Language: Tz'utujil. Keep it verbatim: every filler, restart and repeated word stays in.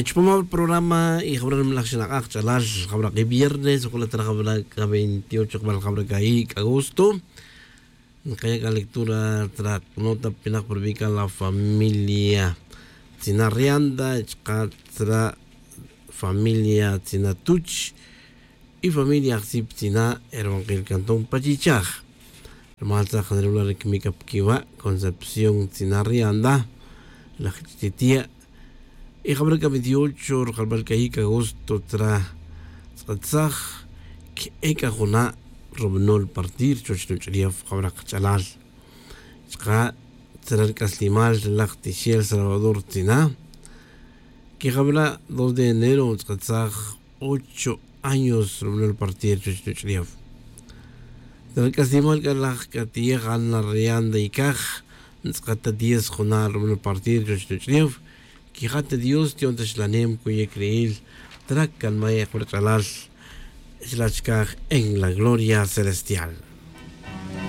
Chupam ri programa y jawra' nimalaj xinak'aj ch'alal, jawra' ki viernes jun la' tra jawra' k'a veintiocho jawra' jawra' k'a ic' agosto. Nkaya' k'a lectura tra nota pinak pa rubi' k'a la familia tzina' rianda chaka' tra familia tzina' tuch y familia ajsip tzina' e ruwankil cantón pa chichaj. Rumal tzaj janirula' ri kimic k'a pa quiwa' concepción tzina' rianda laj chititia'. Y jabra' k'a veintiocho rujalbal k'a yic agosto tra tz'atzaj ke'e k'a juna' rubanol partir chuwech nuch'ulef jabra' kach'alal chaka' tzara' ri c'aslimal ri laj tixel salvador tzina'. Que jabra' dos de enero tz'atzaj ocho años rubanol partir chuwech nuch'ulef. Tzara' ri c'aslimal c'a laj c'a tiyej ana rianda y caj ntz'akat ta diez juna' rubanol partir chuwech nuch'ulef. Quija' ta dios ti'on ta xlanem cuye' criil tra canmay' jabra' ch'alal. Xlach caj en la gloria celestial.